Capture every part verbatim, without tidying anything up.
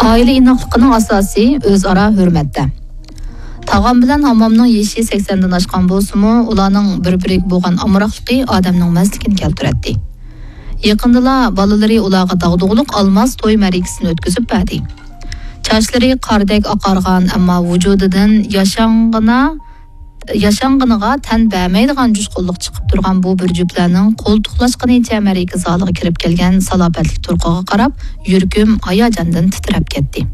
ئائىلە ئىناقلىقىنىڭ ئاساسى ئۆزئارا ھۆرمەتتە. تاغام بىلەن ھاممامنىڭ يېشى سەكسەندىن ئاشقان بولسىمۇ، ئۇلارنىڭ بىر-بىرىگە بولغان ئامراقلىقى ئادەمنىڭ مەستلىكىنى كەلتۈرەتتى. يېقىندىلا بالىلىرى ئۇلارغا داغدۇغىلىق ئالماس توي مەرىكىسىنى ئۆتكۈزۈپ بەردى. چاچلىرى قاردەك ئاقارغان، ئەمما ۋۇجۇدىدىن ياشانغىنا، ياشانغىنىغا تەن بەرمەيدىغان جۇشقۇنلۇق چىقىپ تۇرغان بۇ بىر جۈپلەرنىڭ قولتۇقلاشقىنىچە مەرىكە زالىغا كىرىپ كەلگەن سالاپەتلىك تۇرقىغا قاراپ، يۈرىكىم ھاياجاندىن تىترەپ كەتتى.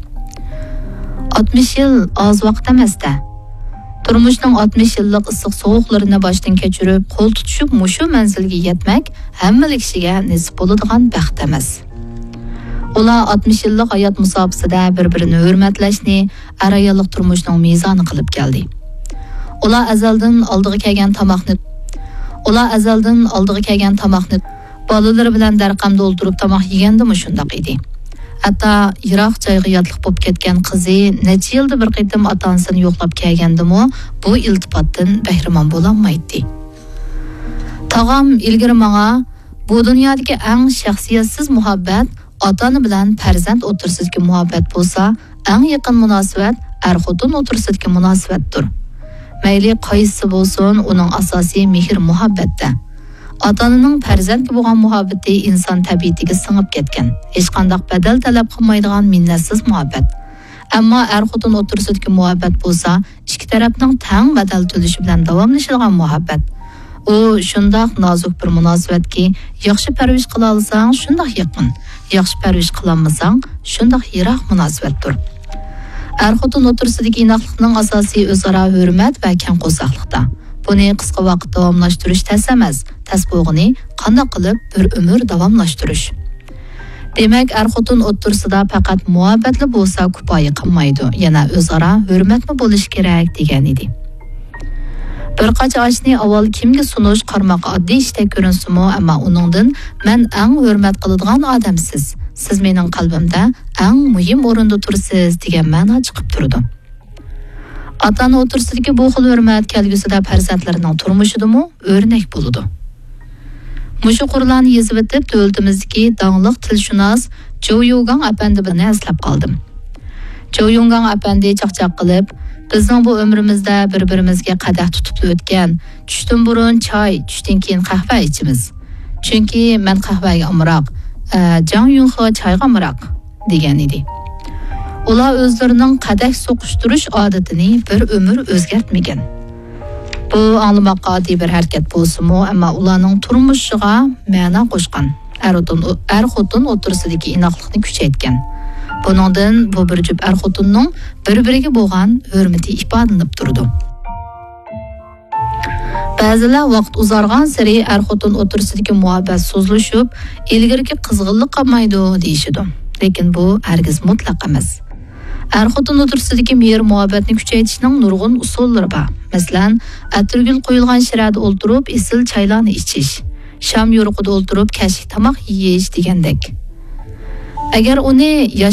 ئاتمىش يىل ئاز ۋاقىت ئەمەس-دە. تۇرمۇشنىڭ ئاتمىش يىللىق ئىسسىق سوغۇقلىرىنى باشتىن كەچۈرۈپ، قول تۇتۇشۇپ مۇشۇ مەنزىلگە يەتمەك ھەممىلا كىشىگە نېسىپ بولىدىغان بەخت ئەمەس. ئۇلار ئاتمىش يىللىق ھايات مۇساپىسىدە بىر-بىرىنى ھۆرمەتلەشنى ئەر-ئاياللىق تۇرمۇشنىڭ مىزانى قىلىپ كەلدى. ئۇلار ئەزەلدىن ئالدىغا كەلگەن تاماقنى، ئۇلار ئەزەلدىن ئالدىغا كەلگەن تاماقنى بالىلىرى بىلەن دەرقەمدە ئولتۇرۇپ تاماق يېگەندىمۇ شۇنداق ئىدى. ھەتتا يىراق جايغا ياتلىق بولۇپ كەتكەن قىزى نەچچە يىلدا بىر قېتىم ئاتا-ئانىسىنى يوقلاپ كەلگەندىمۇ بۇ ئىلتىپاتتىن بەھرىمەن بولالمايتتى. تاغام ئىلگىرى ماڭا، بۇ دۇنيادىكى ئەڭ شەخسىيەتسىز مۇھەببەت ئاتا-ئانا بىلەن پەرزەنت ئوتتۇرىسىدىكى مۇھەببەت بولسا، ئەڭ يېقىن مۇناسىۋەت ئەر-خوتۇن ئوتتۇرىسىدىكى مۇناسىۋەتتۇر. مەيلى قايسىسى بولسۇن، ئۇنىڭ ئاساسى مېھىر-مۇھەببەتتە. ئاتا-ئانىنىڭ پەرزەنتكە بولغان مۇھەببىتى ئىنسان تەبىئىتىگە سىڭىپ كەتكەن، ھېچقانداق بەدەل تەلەپ قىلمايدىغان مىننەتسىز مۇھەببەت. ئەمما ئەر-خوتۇن ئوتتۇرىسىدىكى مۇھەببەت بولسا، ئىككى تەرەپنىڭ تەڭ بەدەل تۆلىشى بىلەن داۋاملىشىدىغان مۇھەببەت. ئۇ شۇنداق نازۇك بىر مۇناسىۋەتكى، ياخشى پەرۋىش قىلالىساڭ، شۇنداق يېقىن، ياخشى پەرۋىش قىلالمىساڭ، شۇنداق يىراق مۇناسىۋەتتۇر. ئەر-خوتۇن ئوتتۇرىسىدىكى ئىناقلىقنىڭ ئاساسى ئۆزئارا ھۆرمەت ۋە كەڭ قورساقلىقتا. بۇنى قىسقا ۋاقىت داۋاملاشتۇرۇش تەس ئەمەس، تەس بولغىنى قانداق قىلىپ بىر ئۆمۈر داۋاملاشتۇرۇش؟ دېمەك، ئەر-خوتۇن ئوتتۇرىسىدا پەقەت مۇھەببەتلا بولسا كۇپايە قىلمايدۇ، يەنە ئۆزئارا ھۆرمەتمۇ بولۇشى كېرەك، دېگەن ئىدى. بىر قاچا ئاشنى ئاۋۋال كىمگە سۇنۇش قارىماققا ئاددىي ئىشتەك كۆرۈنسىمۇ، ئەمما ئۇنىڭدىن «مەن ئەڭ ھۆرمەت قىلىدىغان ئادەم سىز، سىز مېنىڭ قەلبىمدە ئەڭ مۇھىم ئورۇندا تۇرىسىز» دېگەن مەنا چىقىپ تۇرىدۇ. ئاتا-ئانا ئوتتۇرىسىدىكى بۇ خىل ھۆرمەت كەلگۈسىدە پەرزەنتلىرىنىڭ تۇرمۇشىدىمۇ ئۆرنەك بولىدۇ. مۇشۇ قۇرلارنى يېزىۋېتىپ، دۆلىتىمىزدىكى داڭلىق تىلشۇناس جوۋ يۇگاڭ ئەپەندىنى ئەسلەپ قالدىم. جوۋ يۇگاڭ ئەپەندى چاقچاق قىلىپ، «بىزنىڭ بۇ ئۆمرىمىزدە بىر-بىرىمىزگە قەدەھ تۇتۇپلا ئۆتكەن، چۈشتىن بۇرۇن چاي، چۈشتىن كېيىن قەھۋە ئىچىمىز. چۈنكى مەن قەھۋەگە ئامراق، ئە، جاڭ يۈنخې چايغا ئامراق» دېگەن ئىدى. ئۇلار ئۆزلىرىنىڭ قەدەھ سوقۇشتۇرۇش ئادىتىنى بىر ئۆمۈر ئۆزگەرتمىگەن. بۇ ئاڭلىماققا ئاددىي بىر ھەرىكەت بولسىمۇ، ئەمما ئۇلارنىڭ تۇرمۇشىغا مەنا قوشقان، ئەر-خوتۇن، ئەر-خوتۇن ئوتتۇرىسىدىكى ئىناقلىقنى كۈچەيتكەن. بۇنىڭدىن بۇ بىر جۈپ ئەر-خوتۇننىڭ بىر-بىرىگە بولغان ھۆرمىتى ئىپادىلىنىپ تۇرىدۇ. بەزىلەر ۋاقىت ئۇزارغانسېرى ئەر-خوتۇن ئوتتۇرىسىدىكى مۇھەببەت سۇسلىشىپ، ئىلگىرىكى قىزغىنلىق قالمايدۇ دېيىشىدۇ. لېكىن بۇ ھەرگىز مۇتلەق ئەمەس. ئەر-خوتۇن ئوتتۇرىسىدىكى مېھىر-مۇھەببەتنى كۈچەيتىشنىڭ نۇرغۇن ئۇسۇللىرى بار. مەسىلەن، ئەتىرگۈل قويۇلغان شىرەدە ئولتۇرۇپ ئېسىل چايلارنى ئىچىش، شام يورۇقىدا ئولتۇرۇپ كەچلىك تاماق يېيىش دېگەندەك. ئەگەر ئۇنى ياش